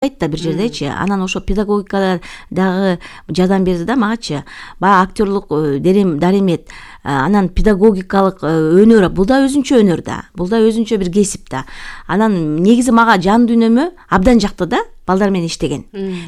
да бир жердечи. Анан ошо педагогикада дагы жардам берди да магачы. Баягы актерлук даремет, анан педагогикалык өнөр, бул да өзүнчө өнөр да. Бул да өзүнчө бир кесип да. Анан негизи мага жан дүйнөмө абдан жакты да. Балдар менен иштеген.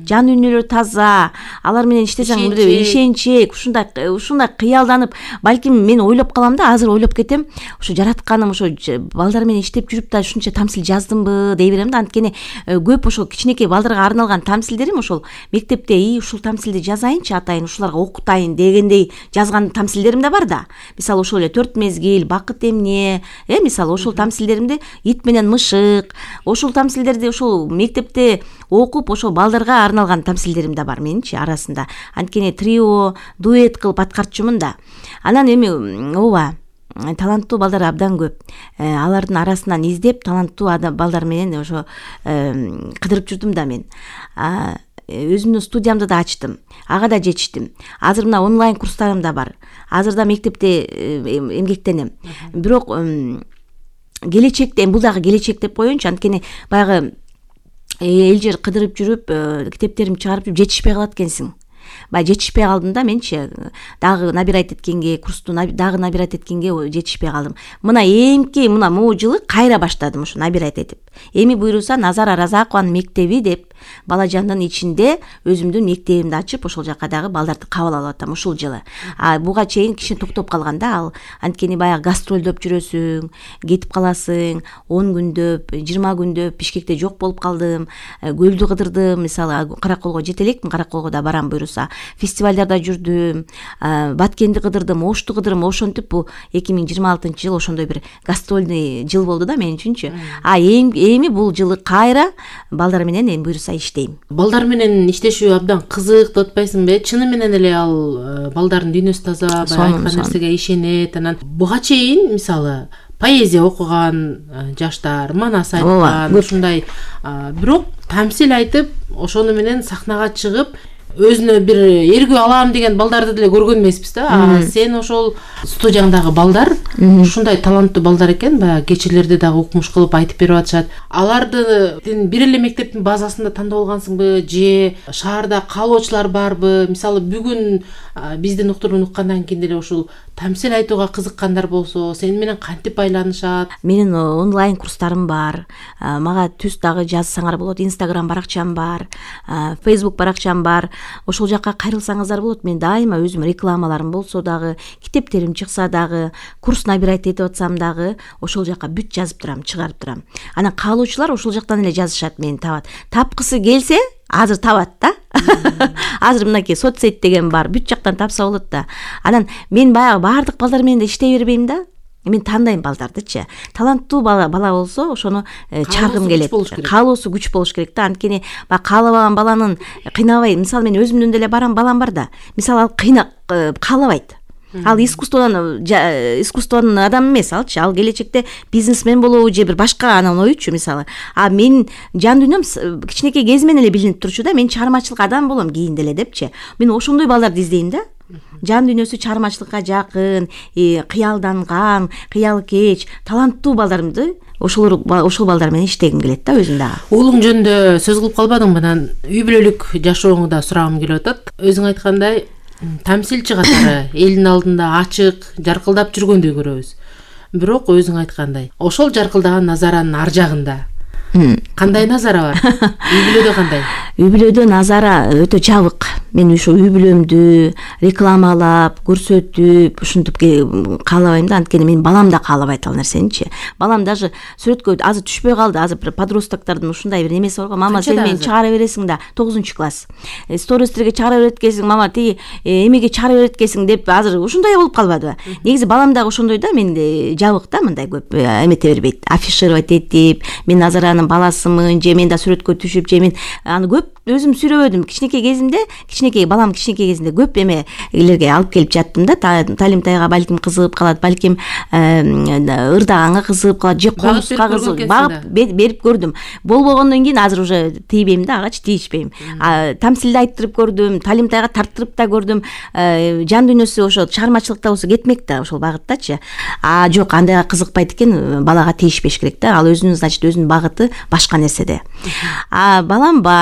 Жан дүйнөлөрү таза, алар менен иштесең ишенчек, ушундай кыялданып, балким мен ойлоп калам да, азыр ойлоп кетем, ошо жаратканым ошо балдар менен иштеп жүрүп да ушунча тамсил жаздымбы дей берем да. Анткени көп ошол кичинекей балдарга арналган тамсилдерим ошол мектепте ушул тамсилди жазайынчы атайын, ушуларга окутайын дегендей жазган тамсилдерим да бар да. Мисалы ошол эле 4 мезгил, бакыт эмне, мисалы ошол тамсилдеримди ит менен мышык, ошол тамсилдерди ошол мектепте окуп ошол балдарга арналган тамсилдерим да бар менинчи арасында. Анткени трио, дуэт кылып аткарчумун да. Анан эми ооба, таланттуу балдар абдан көп. Алардын арасынан издеп таланттуу балдар менен ошо кыдырып жүрдүм да мен. Өзүмдүн студиямды да ачтым. Ага да жетиштим. Азыр мына онлайн курстарым да бар. Азыр да мектепте эмгектенем. Бирок келечекте, бул дагы келечек деп коеюнчу, анткени баягы эл жер кыдырып жүрүп, китептеримди чыгарып жүрүп жетишпей калат экенсиң. Баягы жетишпей калдым да менчи. Дагы набирать эткенге, курсту дагы набирать эткенге жетишпей калдым. Мына могу жылы кайра баштадым ошо набирать этип. Эми буйруса Назара Разакованын мектеби деп бала жандын ичинде өзүмдүн мектебимди ачып, ошол жака дагы балдарды кабыл алып атам ушул жылы. Буга чейин кичине токтоп калган да ал. Анткени баягы гастролдоп жүрөсүң, кетип каласың, 10 күндөп, 20 күндөп Бишкекте жок болуп калдым. Көлдү кыдырдым, мисалы Караколго жете элекмин, Караколго да барам буйруса. Фестивалдарда жүрдүм, Баткенди кыдырдым, Ошту кыдырдым. Ошентип бул 2026-жыл ошондой бир гастрольный жыл болду да мен үчүнчү. Эми бул жылы кайра балдар менен эми буйруса иштейм. Балдар менен иштешүү абдан кызык деп атпайсыңбы? Чыны менен эле ал балдардын дүйнөсү таза, айткан нерсеге ишенет. Анан буга чейин мисалы поэзия окуган жаштар, манас айткан, ушундай бирок тамсил айтып, ошону менен сахнага чыгып өзүнө бир эргүү алам деген балдарды деле көргөн эмеспиз да. Сен ошол студияңдагы балдар ушундай таланттуу балдар экен, баягы кечелерде дагы укмуш кылып айтып берип атышат. Аларды бир эле мектептин базасында тандап алгансыңбы же шаарда каалоочулар барбы? Мисалы бүгүн биздин уктуруну уккандан кийин деле ушул тамсил айтууга кызыккандар болсо, сени менен кантип байланышат? Менин онлайн курстарым бар. Мага түз дагы жазсаңар болот. Instagram баракчам бар, Facebook баракчам бар. Ошол жака кайрылсаңыздар болот. Мен дайыма өзүм рекламаларым болсо дагы, китептерим чыкса дагы, курс набирать этип атсам дагы, ошол жака бүт жазып турам, чыгарып турам. Анан каалоочулар ошол жактан эле жазышат, мени табат. Тапкысы келсе, азыр табат да. Азыр мынакей соцсет деген бар, бүт жактан тапса болот да. Анан мен баягы баардык балдар менен иштей бербейм да. Мен тандайм балдардычы. Таланттуу бала болсо, ошону чаргым келет. Каалоосу күч болуш керек да. Анткени баягы каалабаган баланын кыйнабай, мисалы мен өзүмдөн деле барам балам бар да. Мисалы ал каалабайт. Ал искусствонун адам эмес алчы. Ал келечекте бизнесмен болобу же бир башка анан оючу мисалы. Мен жан дүйнөм кичинекей кезимен эле билинип турчу да. Мен чыгармачылык адам болом кийин деле депчи. Мен ошондой балдарды издейм да. Жан дүйнөсү чыгармачылыкка жакын, кыялданган, кыялкеч, таланттуу балдарымды ошол балдар менен иштегим келет да өзүм дагы. Уулуң жөнүндө сөз кылып калбадыңбы? Анан үй бүлөлүк жашооңду да сурагым келип атат. Өзүң айткандай, тамсилчи катары элдин алдында ачык, жаркылдап жүргөндөй көрөбүз. Бирок өзүң айткандай, ошол жаркылдаган Назаранын ар жагында кандай Назара бар? Үй бүлөдө кандай? Үй бүлөдө Назара өтө жабык. Мен ошо үй бүлөмдү рекламалап, көрсөтүп, ушинтип каалабайм да. Анткени мен балам да каалабайт ал нерсеничи. Балам даже сүрөткө азыр түшпөй калды. Азыр бир подростоктордун ушундай бир немеси бар го. Мама, сен мени чыгара бересиң да, 9-класс. Стористерге чыгара берет экенсиң, мама, тиги эмеге чыгара берет экенсиң деп азыр ушундай болуп калбадыбы? Негизи балам дагы ошондой да, мен жабык да, мындай көп эмете бербейт. Афишировать этип, мен Назаранын баласымын, же мен да сүрөткө түшүп, же мен аны көп өзүм сүйлөбөдүм. Кичинекей кезимде кичинекей балам кичинекей кезинде көп эмелерге алып келип жаттым да. Талимтайга балким кызыгып калат, балким ырдаганга кызыгып калат, же комузга кызыгып багып берип көрдүм. Болбогондон кийин азыр уже тийбейм да, агачы тийишпейм. Тамсилде айттырып көрдүм, Талимтайга тарттырып да көрдүм. Жан дүйнөсү ошо чыгармачылыкта болсо кетмек да ошол багыттачы. Жок, андайга кызыкпайт экен, балага тийишпеш керек да. Ал өзүнүн, значит, өзүнүн багыты башка нерседе. Балам бар,